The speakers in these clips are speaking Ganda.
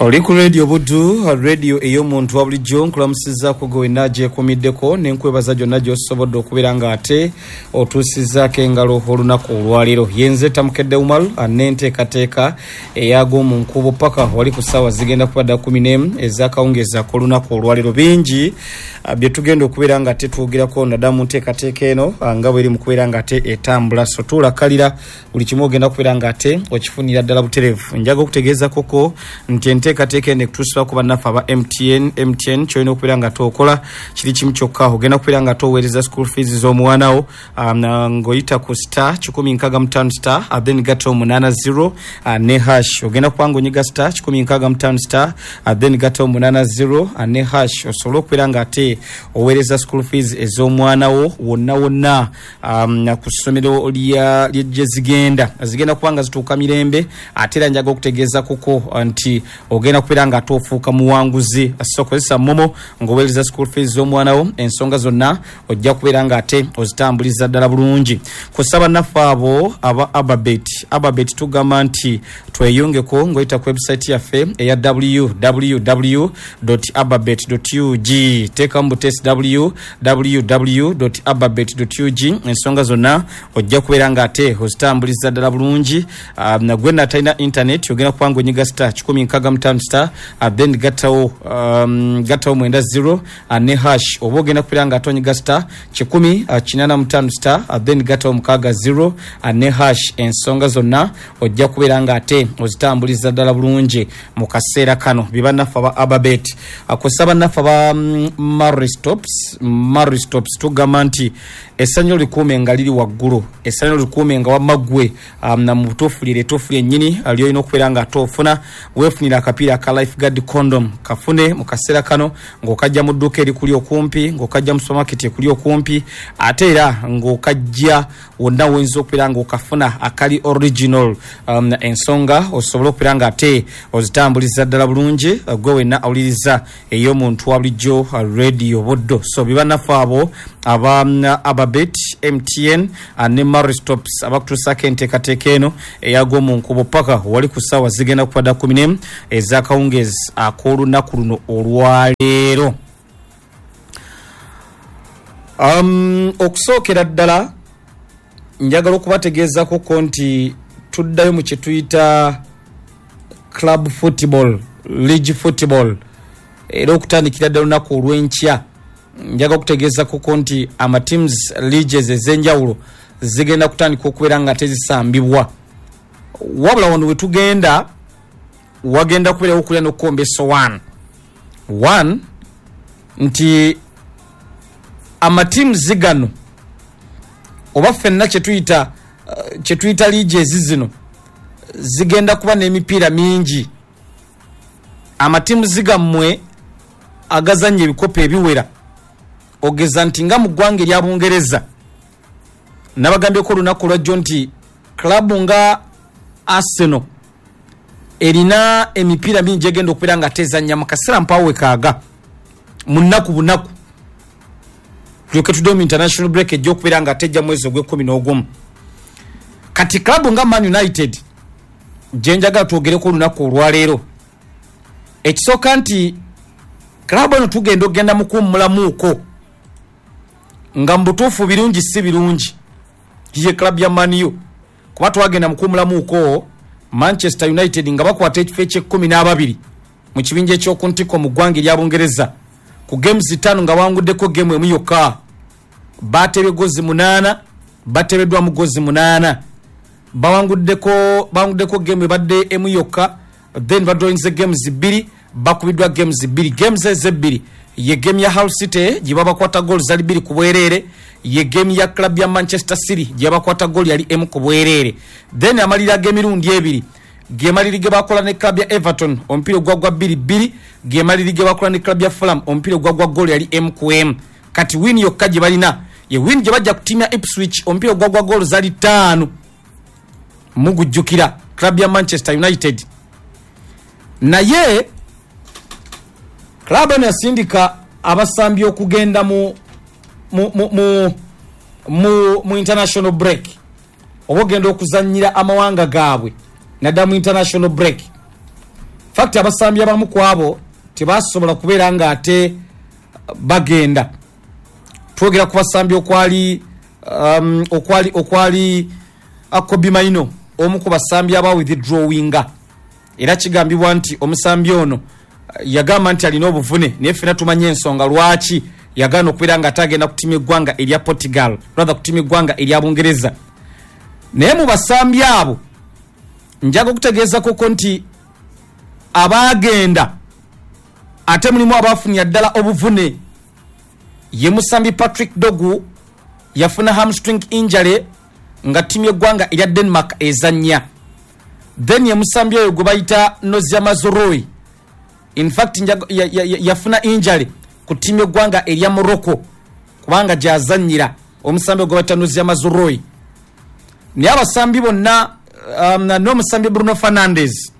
Oli ku Radio Buddu, radio ey'omuntu wa bulijjo. Nkulamusizzaako gwe wenna agyekuumiddeko ne nkwebaza gyonna gy'osobodde okubeera ng'ate otuusizzaako engalo olunaku olwaleero. Yenze Tamukedde Umar n'enteekateeka ey'ag'omu nkuubo paka wali ku ssaawa zigenda kuba dda 11 ez'akawungeezi ak'olunaku olwaleero. Bingi bye tugenda okubeera nga ate twogerako naddala mu nteekateeka eno nga bweri mu kubeera nga ate etambula. So tuulakalira buli kimu ogenda kubeera nga ate okifunira ddala butereevu. Njaga okutegeeza koko nti enteekateeka eno ekutuusibwako bannaffe aba MTN. MTN ky'olina okubeera nga ate okola kiri kimu kyokka, ogenda kubeera nga ate oweereza school fees z'omwana wo ng'oyita ku star 165 star then gatta omunaana 0 ne hash. Ogenda kuba nga onyiga star 165 star then gatta omunaana 0 ne hash osobole okubeera nga ate oweereza school fees ez'omwana wo wonna wonna ku ssomero lya gye zigenda. Zigenda kuba nga zituuka mirembe, ate era njaga okutegeeza kuko nti ogenda kubeera nga ate ofuuka muwanguzi. So kozesa momo ng'oweereza school fees z'omwana wo, ensonga zonna ojja kubeera nga ate ozitambuliza ddala bulungi. Kusa bannaffe abo aba Ababet, Ababet tugamba nti tweyungeko ng'oyita ku website yaffe eya www.ababet.ug. Teekamu butesi www.ababet.ug, ensonga zonna ojja kubeera nga ate ozitambuliza ddala bulungi. Gwe natalina internet ogenda kuba nga onyiga star 165 star then gattawo gattawo mwenda 0 ne hash, oba ogenda kubeera nga ate onyiga star 185 star then gattawo mukaaga 0 ne hash. Ensonga zonna ojja kubeera nga ate ozitambuliza ddala bulungi mu kaseera kano. Be bannaffe aba Ababet. Kusa bannaffe aba Maristops, Maristops tugamba nti essanyu likuume nga liri waggulu, essanyu likuume nga wamma ggwe mu butuufu lyeryo ettuufu lyennyini ly'olina okubeera nga ate ofuna. Weefunire akapiira aka Lifeguard condom, kafune mu kaseera kano ng'okajja mu dduuka erikuli okumpi, ng'okajja mu supermarket ekuli okumpi, ate era ng'okajja wonna woyinza okubeera ng'okafuna akali original, ensonga osobole okubeera nga ate ozitambuliza ddala bulungi gwe wenna awuliriza ey'omuntu wa bulijjo Radio Buddo. So be bannaffe abo aba Ababet, MTN ne Maristops abakutuusaako enteekateeka eno eyagw'omu nkubo paka wali ku ssaawa zigenda kuba dda 11 ez'akawungeezi ak'olunaku luno olwaleero. Okusookera ddala njagala okubategeezako ko nti tuddayo mu kye tuyita club football, league football, era okutandikira ddala olunaku olw'enkya njagala okutegeezako ko nti ama teams leagues ez'enjawulo zigenda kutandika okubeera nga tezisambibwa. Wabula wano we tugenda wagenda kubeerawo okulya n'okukomba essowaani. One, nti amatiimuzi gano oba ffenna kyetuyita kyetuyita liigi ezi zino zigenda kuba n'emipiira mingi. Amatiimuzi gammwe agazannya ebikopo ebiwera, ogeza nti nga mu ggwanga erya Bungereza nabagambyeko olunaku olwajjo nti club nga Arsenal erina emipiira mingi egenda okubeera nga tezannya mu kaseera mpaawo wekaaga mu nnaku bunaku, tulyoke tudde mu international break ejja okubeera nga tejja mwezi ogw'ekkumi n'ogumu. Kati club nga Man United gye njagala twogereko olunaku olwaleero, ekisooka nti club eno tugenda okugenda mu kuwummulamuuko nga mu butuufu birungi si birungi ye club ya Man U, kuba twagenda mu kuwummulamuuko Manchester United nga bakwata ekifo eky'ekkumi n'ababiri mu kibinja eky'oku ntikko mu ggwanga erya Bungereza ku games ttaano nga bawanguddeko game emu yokka. Baatebye gozi 8, bateebeddwamu gozi 8, bawanguddeko game ebadde emu yokka, then badrawinze games bbiri, bakubiddwa games bbiri. Games ezo ebbiri ye game ya Hull City gye babakwata goal zali 2 ku bwereere, ye game ya club ya Manchester City gye babakwata goal yali emu ku bwereere. Then amalira ag'emirundi ebiri ge maliri ge bakola ne club ya Everton omupiira ogwagwa 2-2, ge maliri ge bakola ne club ya Fulham omupiira ogwagwa goal yali emu ku emu. Kati win yokka gye balina ye win gye bajja ku ttiimu ya Ipswich omupiira ogwagwa goal zali 5, mugujjukira club ya Manchester United. Naye club eno yasindika abasambi okugenda mu international break oba ogenda okuzannyira amawanga gaabwe naddala mu international break. Fact, abasambi abamu ku abo tebasobola kubeera nga ate bagenda. Twogera ku basambi okwali Kobbie Mainoo, omu ku basambi aba withdrawinga, era kigambibwa nti omusambi ono yagamba nti alina obuvune, naye ffena tumanye ensonga lwaki yagaana okubeera nga ate agenda ku ttiimu eggwanga erya Portugal, rather ku ttiimu eggwanga erya Bungereza. Naye mu basambi abo njaga okutegeeza koko nti abaagenda ate mulimu abafunira ddala obuvune. Ye musambi Patrick Dorgu, yafuna hamstring injury nga ttiimu y'eggwanga erya Denmark ezannya. Then ye musambi oyo gwe bayita Noussair Mazraoui, in fact yafuna injury ku ttiimu y'eggwanga erya Morocco kubanga gyazannyira, omusambi gwe bayita Noussair Mazraoui. Naye abasambi bonna n'omusambi Bruno Fernandes,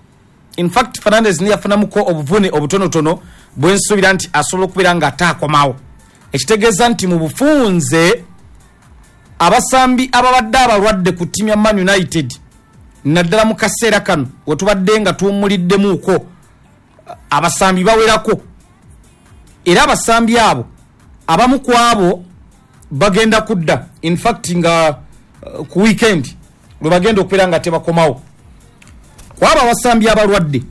in fact Fernandes niye yafunamuko obuvune obutonotono bwensuubira nti asobola okubeera nga ate akomawo, ekitegeeza nti mu bufunze abasambi ababadde abalwadde ku ttiimu ya Man United, naddala mu kaseera kano wetubadde nga tuwummuliddemuuko, abasambi bawerako. Era abasambi abo abamu ku abo bagenda kudda, in fact nga ku weekend lwe bagenda okubeera nga tebakomawo. Kwabo abasambi abalwadde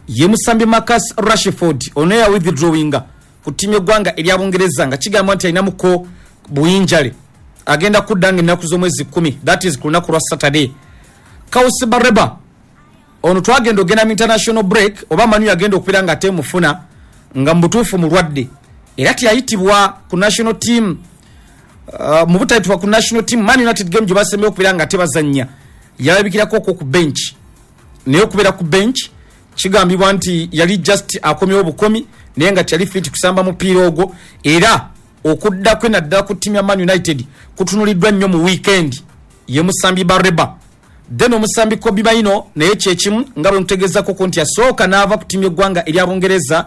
ye musambi Marcus Rashford, ono ya withdrawinga ku ttiimu y'eggwanga erya Bungereza nga kigambibwa nti alinamuko buyinjale, agenda kudda nga ennaku z'omwezi 10, that is ku lunaku lwa Saturday. Carlos Baleba ono twagenda ogenda mu international break, oba Manu yagenda okubeera nga atemufuna nga mu butuufu mulwadde, era teyayitibwa ku national team. Mu butayitibwa ku national team, Man United game gye basembeyo okubeera nga tebazannya yalabikirako okwo ku bench, naye okubeera ku bench kigambibwa nti yali just akomyewo bukomi, naye nga teyali fit kusamba mupiira ogwo. Era okudda kwe naddala ku ttiimu ya Man United kutunuliddwa nnyo mu weekend, ye musambi Baleba. Then omusambi Kobbie Mainoo naye kyekimu, nga bwe nkutegeezako nti yasooka n'ava ku ttiimu y'eggwanga erya Bungereza,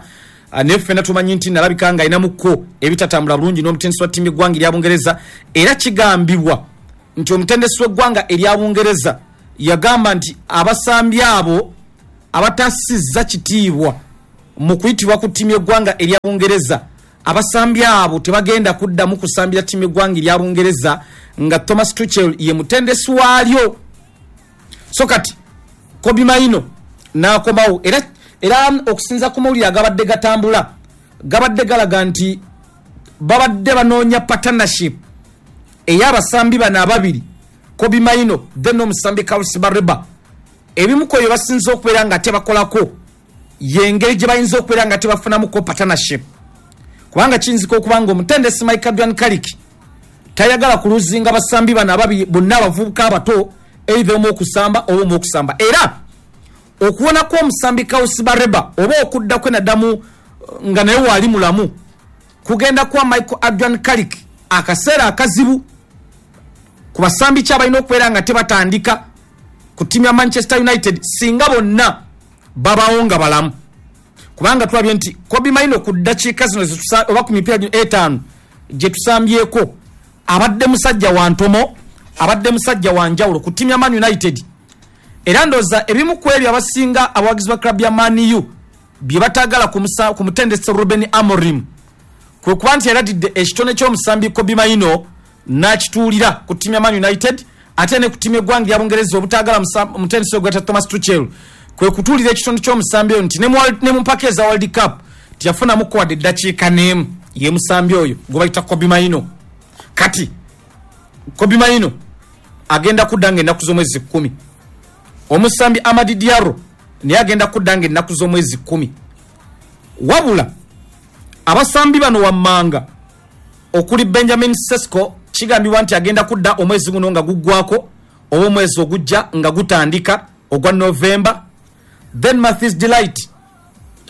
naye ffenna tumanyi nti nalabika nga alinamuko ebitatambula bulungi n'omutendesi wa ttiimu y'eggwanga erya Bungereza. Era kigambibwa nti omutendesi w'eggwanga erya Bungereza yagamba nti abasambi abo abatasizza kitiibwa mu kuyitibwa ku ttiimu y'eggwanga erya Bungereza, abasambi abo tebagenda kuddamu kusambira ttiimu y'eggwanga erya Bungereza nga Thomas Tuchel ye mutendesi waalyo. So kati Kobbie Mainoo n'akomawo, era okusinza ku mawulire agabadde gatambula gabadde galaga nti babadde banoonya partnership ey'abasambi bano ababiri, Kobbie Mainoo then n'omusambi Carlos Baleba. Ebimu ku ebyo basinze okubeera nga tebakolako yengeri gye bayinza okubeera nga tebafunamuko partnership, kubanga kiyinzika okuba nga omutendesi Michael Adrian Carrick tayagala kuluzinga basambi bano ababiri bonna abavubuka abato, either omu okusamba oba omu okusamba. Era okuwona kw'omusambi Carlos Baleba oba okudda kwe naddamu nga naye waali mulamu kugenda kwa Michael Adrian Carrick akaseera akazibu ku basambi ki abalina okubeera nga tebatandika ku ttiimu ya Manchester United singa bonna babawo nga balamu, kubanga tulabye nti Kobbie Mainoo ku ddakiika zino oba ku mipiira gino 5 gye tusambyeko abadde musajja wa ntomo, abadde musajja wa njawulo ku ttiimu ya Man United. Era ndowooza ebimu ku ebyo abasinga abawagizi ba club ya Man U bye bataagala ku mutendesi Ruben Amorim kwe kuba nti yaladidde ekitone ky'omusambi Kobbie Mainoo n'akituulira ku ttiimu ya Man United, ate ne ku ttiimu y'eggwanga erya Bungereza obutaagala omutendesi ogweta Thomas Tuchel kwe kutuulira ekitone ky'omusambi oyo nti ne mu mpaka eza World Cup teyafunamuko wadde eddakiika n'emu, ye musambi oyo gwe bayita Kobbie Mainoo. Kati Kobbie Mainoo agenda kudda nga ennaku z'omwezi 10. Omusambi Amad Diallo naye agenda kudda nga ennaku z'omwezi 10. Wabula abasambi bano wammanga okuli Benjamin Sesko kigambibwa nti agenda kudda omwezi guno nga guggwako oba omwezi ogujja nga gutandika ogwa November. Then Matthijs de Ligt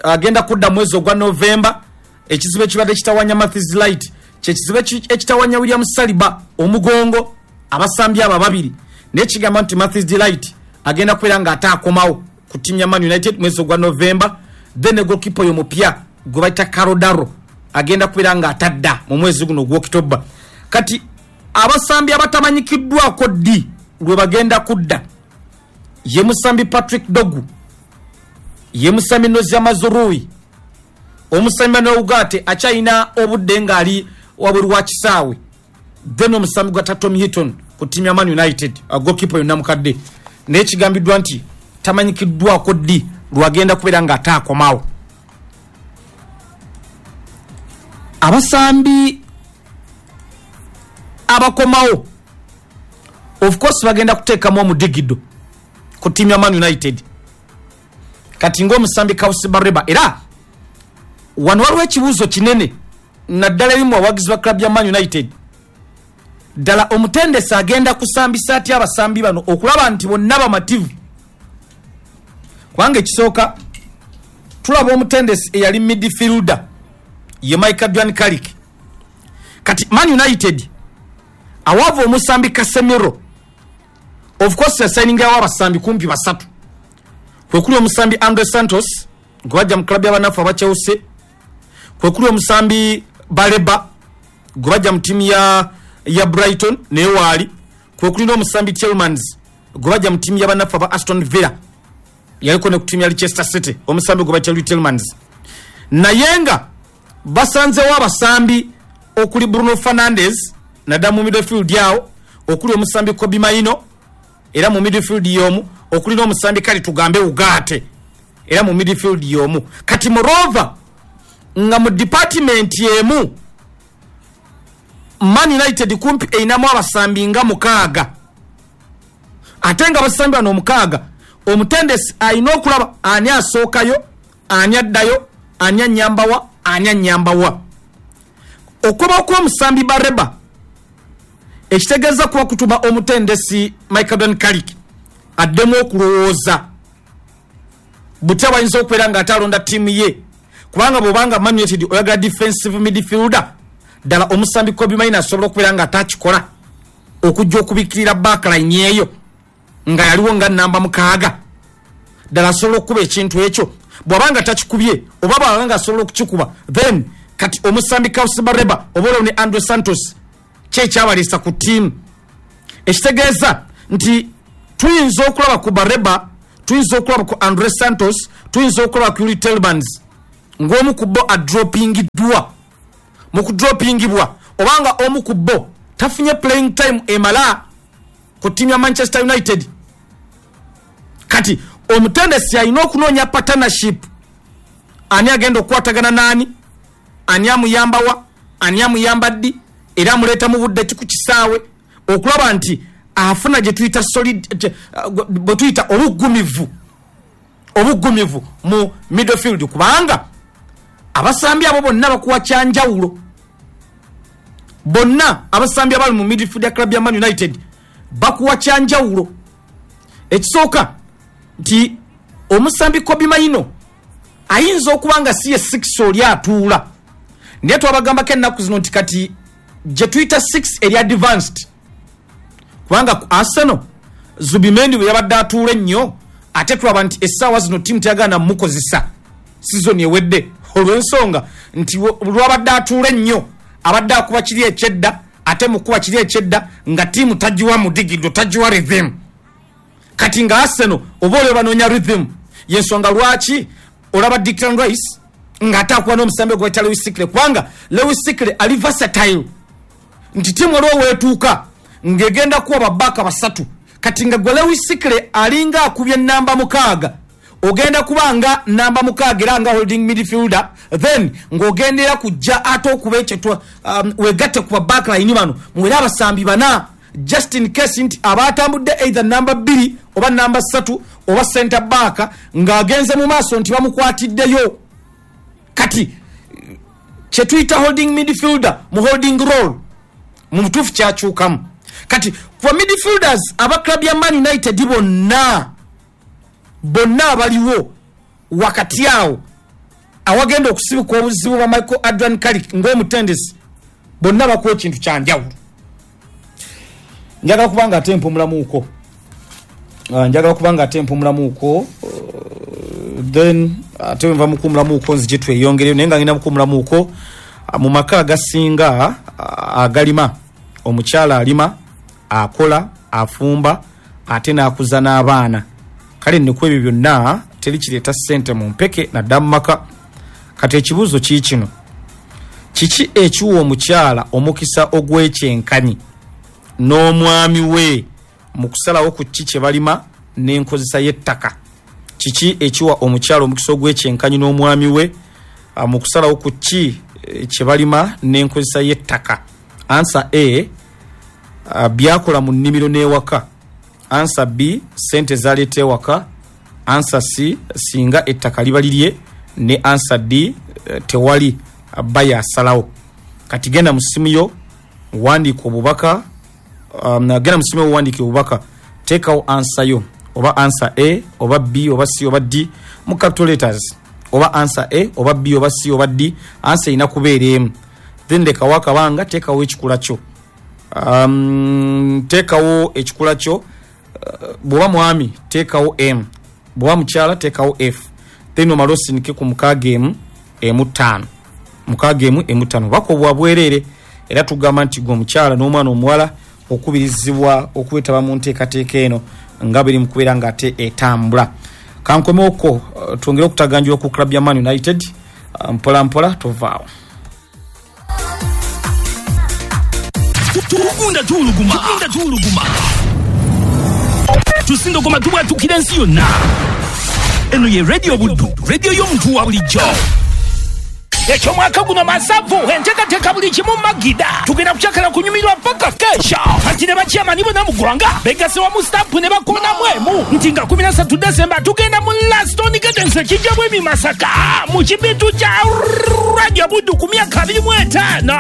agenda kudda mwezi ogwa November. Ekizibu ekibadde kitawanya Matthijs de Ligt kyekizibu ekitawanya William Saliba omugongo, abasambi abo ababiri, naye kigamba nti Matthijs de Ligt agenda kubeera nga ate akomawo ku ttiimu ya Man United mwezi ogwa November. Then ne goalkeeper oyo mupya gwe bayita Karl Darlow agenda kubeera nga atadda mu mwezi guno ogw'Okitoba. Kati abasambi abatamanyikiddwako ddi lwe bagenda kudda ye musambi Patrick Dorgu. Ye musambi Nozi Mazurui, omusambi Manuel Ugarte akyalina obudde ng'ali wabweru wa kisaawe, then omusambi gwa Tom Heaton ku ttiimu ya Man United, goalkeeper yonna mukadde, naye kigambiddwa nti tamanyikiddwako ddi lwagenda kubeera ng'ate akomawo. Abasambi abakomawo of course bagenda kuteekamu omudigido ku ttiimu ya Man United. Kati ng'omusambi Carlos Baleba, era wano waliwo ekibuuzo kinene naddala erimu abawagizi ba club ya Man United. Ddala omutendesi agenda kusambisa atya abasambi bano okulaba nti bonna bamativu? Kubanga ekisooka tulaba omutendesi eyali midfielder ye Michael Duan Carrick. Kati Man United awaava omusambi Casemiro, of course yasayiningawo abasambi kumpi basatu, kwekuli omusambi Andre Santos gwe bajja mu club y'abanafu aba Chelsea, kwekuli omusambi Baleba gwe bajja mu ttiimu ya Brighton naye waali, kwekuli n'omusambi Tielemans gwe bajja mu ttiimu y'abanafu aba Aston Villa, yaliko ne ku ttiimu ya Leicester City, omusambi gwe bajja Tielemans. Naye nga basanzewo abasambi okuli Bruno Fernandes naddala mu midfield awo, okuli omusambi Kobbie Mainoo era mu midfield y'omu, okuli n'omusambi kale tugambe Ugarte era mu midfield y'omu. Kati moreover nga mu department emu Man United kumpi erinamu abasambi nga 6, ate nga abasambi bano 6 omutendesi alina okulaba ani asookayo, ani addayo, ani annyambawa, ani annyambawa. Okuba kw'omusambi Baleba ekitegeeza kuba kutuma omutendesi Michael Don Carrick addemu okulowooza butya bayinza okubeera ng'ate alonda ttiimu ye, kubanga bw'obanga Man United oyagala defensive midfielder, ddala omusambi Kobbie Mainoo asobola okubeera ng'ate akikola okujja okubikkirira backline eyo nga yaliwo nga namba 6. Ddala asobola okukuba ekintu ekyo, bw'abanga takikubye oba bw'abanga asobola okukikuba, then kati omusambi Carlos Baleba oba olwo ne Andre Santos kyekyabaleesa ku ttiimu. Ekitegeeza nti tuyinza okulaba ku Baleba, tuyinza okulaba ku Andre Santos, tuyinza okulaba ku Youri Tielemans ng'omu ku bo adropingiddwa. Mu kudropingibwa obanga omu ku bo tafunye playing time emala ku ttiimu ya Manchester United. Kati omutendesi alina okunoonya partnership, ani agenda okukwatagana n'ani, ani amuyambawa, ani amuyamba ddi, era amuleeta mu budde ki ku kisaawe, okulaba nti afuna gye tuyita solid, bwe tuyita obuggumivu mu midfield, kubanga abasambi abo bonna bakuwa kyanjawulo. Bonna abasambi abali mu midfield ya club ya Man United bakuwa kyanjawulo. Ekisooka nti omusambi Kobbie Mainoo ayinza okuba nga si ye 6 oli atuula, naye twabagambako ennaku zino nti kati gye tuyita 6 eri advanced, kubanga ku Arsenal Zubimendi bwe yabadde atuula ennyo, ate tulaba nti essaawa zino ttiimu teyagala mukozesa sizoni ewedde, olw'ensonga nti lwabadde atuula ennyo abadde akuba kiri ekyedda, ate mukuba kiri ekyedda nga ttiimu tagiwa mudigido, tagiwa rhythm. Kati nga Arsenal oba olwo banoonya rhythm, yensonga lwaki olaba Declan Rice ng'ate akuba n'omusambi gwe bayita Lewis Skelly, kubanga Lewis Skelly ali versatile nti ttiimu olwo weetuuka ng'egenda kuwa babbaaka 3. Kati nga gwe Lewis Skelly alinga akubye namba 6, ogenda kuba nga namba 6 era nga holding midfielder, then ng'ogendera kujja ate okuba ekyo wegatte ku backline bano muwere abasambi 4, just in case nti abatambudde either namba 2 oba namba 3 oba center back ng'agenze mu maaso nti bamukwatiddeyo. Kati kye tuyita holding midfielder mu holding role mu butuufu kyakyukamu. Kati ku midfielders aba club ya Man United bonna abaliwo wakati awo awagenda okusibuka obuzibu bwa Michael Adrian Carrick ng'omutendesi, bonna bakuwa ekintu kyanjawulo. Njagala kubanga ate mpumulamuuko, then ate nva mukuumulamuuko nzije tweyongereyo, naye nga ngenda mukuumulamuuko. Mu maka agasinga agalima, omukyala alima, akola, afumba, ate n'akuza n'abaana. Kale nno ku ebyo byonna Teri kireeta ssente mu mpeke nadda mu maka. Kati ekibuuzo kii kino: kiki ekiwa omukyala omukisa ogw'ekyenkanyi n'omwami we mu kusalawo ku ki kye balima n'enkozesa y'ettaka? Kiki ekiwa omukyala omukisa ogw'ekyenkanyi n'omwami we mu kusalawo ku ki kye balima n'enkozesa y'ettaka? Answer A, byakola mu nnimiro n'ewaka. Answer B, sente zaleeta ewaka. Answer C, singa ettaka liba lirye. Ne answer D, tewali, bba asalawo. Kati genda mu ssimu yo wandiika obubaka, genda mu ssimu yo wandiika obubaka, teekawo answer yo, oba answer A oba B oba C oba D mu capital letters, oba answer A oba B oba C oba D. Answer erina kubeera emu. Then lekawo akabanga, teekawo ekikula kyo, teekawo ekikula kyo. Bw'oba mwami teekawo M, bw'oba mukyala teekawo F, then omale osindike ku 615 615. Bubaka obwa bwereere, era tugamba nti gwe omukyala n'omwana omuwala okubirizibwa okwetaba mu nteekateeka eno nga biri mu kubeera ng'ate etambula. Kankomewoko twongere okutaganjula ku club ya Man United mpola mpola, tovaawo. Tugunda tuwuluguma, tugunda tuwuluguma, tusindogoma, tubwatukira ensi yonna. Eno ye Radio Buddu, radio y'omuntu wa bulijjo. Ekyomwaka guno masavu, enteekateeka buli kimu magida. Tugenda kukyakala kunyumirwa paka kesha. Anti ne bakyamani bonna mu ggwanga begase wamu, stamp ne bakonamu emu nti nga 13 Desemba tugenda mu Laston Gardens ekijja bwemi Masaka mu kibitu kya Radio Buddu ku myaka 25.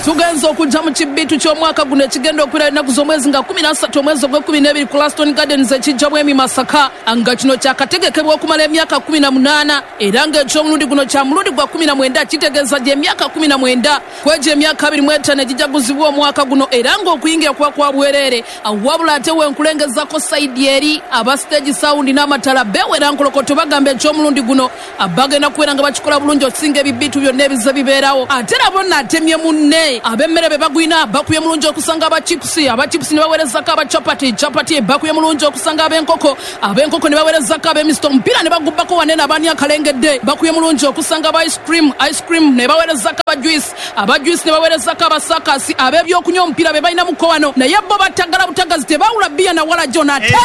Tugenza okujja mu kibitu ky'omwaka guno ekigenda okubeera ennaku z'omwezi nga 13 omwezi ogw'e12 ku Laston Gardens ekijja bwemi Masaka, nga kino kyakategekebwa okumala emyaka 18, era ng'ekyomulundi guno kya mulundi gwa 19, kitegeeza gy'emyaka 19 kwegyo emyaka 25 egijaguzibwa omwaka guno, era ng'okuyingira kuba kwa bwereere. Wabula ate wenkulengezako side eri aba stage sound n'amatala bewera nkolokoto, bagamba ekyomulundi guno bagenda kubeera nga bakikola bulungi okusinga ebibitu byonna ebize bibeerawo. Ate nabo naatemye munne ab'emmere be bagwina bakubye mulungi okusanga abachipusi, abachipusi ne baweerezako abachapati, chapati bakubye mulungi okusanga ab'enkoko, ab'enkoko ne baweerezako ab'emisito, omupiira ne bagubbako wanene abaani akalengedde bakubye mulungi okusanga aba ice cream, ice cream ne baweerezako aba juice, aba juice ne baweerezako abasakasi, ab'ebyokunywa omupiira be balina muko wano, naye bo batagala butagazi, tebawula bbiya na wala jona ate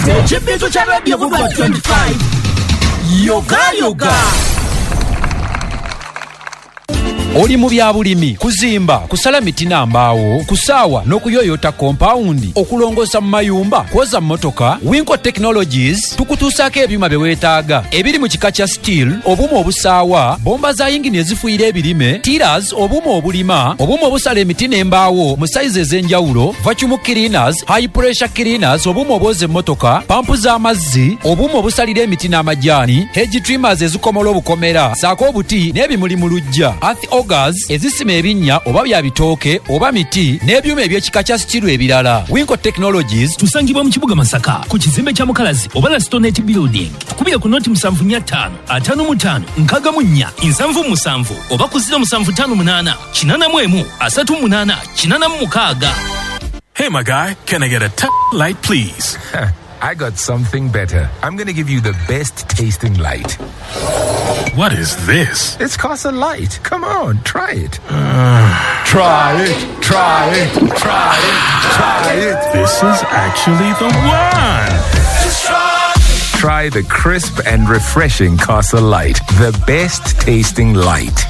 Ekibitu kya Radio Buddu 25 yoga yoga. Oli mu bya bulimi, kuzimba, kusala miti na mbaawo, kusaawa n'okuyoyota kompawundi, okulongoosa mu mayumba, kwoza mmotoka, Winco Technologies tukutuusaako ebyuma bye weetaaga ebiri mu kika kya steel, obuuma obusaawa, bomba za yingini ezifuuyira ebirime, tillers, obuuma obulima, obuuma obusala emiti n'embaawo mu sayizi ez'enjawulo, vacuum cleaners, high pressure cleaners, obuuma obwoza emmotoka, pampu z'amazzi, obuuma obusalira emiti n'amajaani, hedge trimmers ezikomola obukomera, saako obuti n'ebimuli mu luggya, earth augers ezisima ebinnya oba bya bitooke oba miti, n'ebyuma eby'ekika kya steel ebirala. Winco Technologies tusangibwa mu kibuga Masaka ku kizimbe kya Mukalazi oba Lastonet Building. Tukubire ku 075 55 64 77 oba ku 0758 81 38 86. Hey, my guy, can I get a light, please? I got something better. I'm going to give you the best tasting light. What is this? It's Casa Light. Come on, try it. Try it, try it, try it, try it. This is actually the one. Try the crisp and refreshing Casa Light, the best tasting light.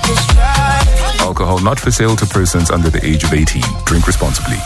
Alcohol not for sale to persons under the age of 18. Drink responsibly.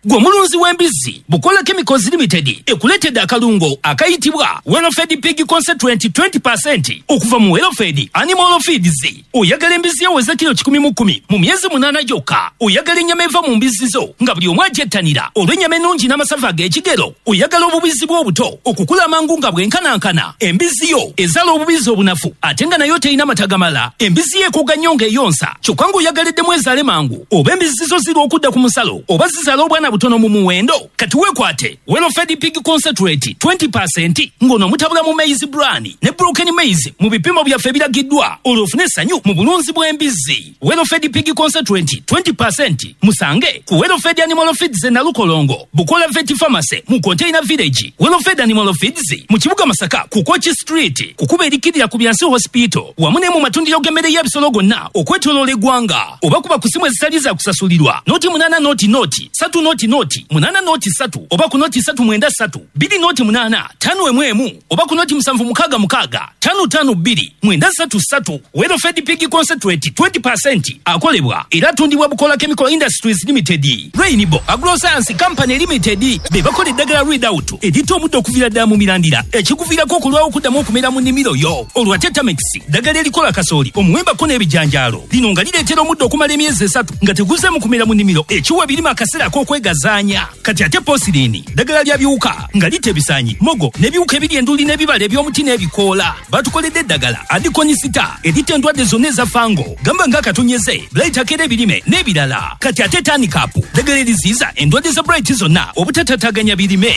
Gwe mulunzi w'embizzi, Bukola Chemicals Limited ekuleetedde akalungo akayitibwa Welfed Pig Concentrate 20% okuva mu Welfed Animal Feeds. Oyagala embizzi eweza kilo 110 mu myezi 8 gyokka? Oyagala ennyama eva mu mbizzi zo nga buli omu agyettanira olw'ennyama ennungi n'amasavu ag'ekigero? Oyagala obubizzi bw'obuto okukula amangu nga bwenkanankana? Embizzi yo ezaala obubizzi obunafu ate nga nayo terina mata gamala? Embizzi yo ekooga nnyo ng'eyonsa kyokka ng'oyagala eddemu ezaale mangu? Oba embizzi zo zirwa okudda ku musalo oba zizaala obwana teyenkana butono mu muwendo. Kati weekwate Welfed Pig Concentrate 20% ng'ono omutabula mu maize bran ne broken maize mu bipimo byaffe ebiragiddwa, olwo ofune essanyu mu bulunzi bw'embizzi. Welfed Pig Concentrate 20% musange ku Welfed Animal Feeds e Nalukolongo, Bukola Vet Pharmacy mu Container Village, Welfed Animal Feeds mu kibuga Masaka ku Kochi Street, kukuba erikirira ku Byansi Hospital, wamu ne mu matundiro g'emmere y'ebisolo gonna okwetooloola eggwanga, oba kuba ku simu ezitali za kusasulirwa 0 8 0 0 3 0 0 8 0 3 oba ku 0 3 9 3 2 0 8 5 1 1 oba ku 0 7 6 6 5 5 2 9 3 3. Welfed Pig Concentrate 20% akolebwa era atundibwa Bukola Chemical Industries Limited. Rainbow Agroscience Company Limited be bakola eddagala Readout eritta omuddo okuviira ddala mu mirandira, ekikuviirako okulwawo okuddamu okumera mu nnimiro yo. Olwo ate Tamex, ddagala erikola kasooli, omuwembako n'ebijanjaalo, lino nga lireetera omuddo okumala emyezi 3 nga teguzeemu kumera mu nnimiro, ekiwa ebirime akaseera ak'okwegazaanya. Kati ate Posirini, ddagala lya biwuka nga litta ebisaanyi, mogo n'ebiwuka ebiri enduli n'ebibala eby'omuti n'ebikoola. Batukoledde eddagala Adikonisita eritta endwadde zonna eza fungal, gamba ng'akatonyeze, blight akera ebirime n'ebirala. Kati ate Tanikapu, ddagala eriziyiza endwadde za blight zonna obutatataganya birime.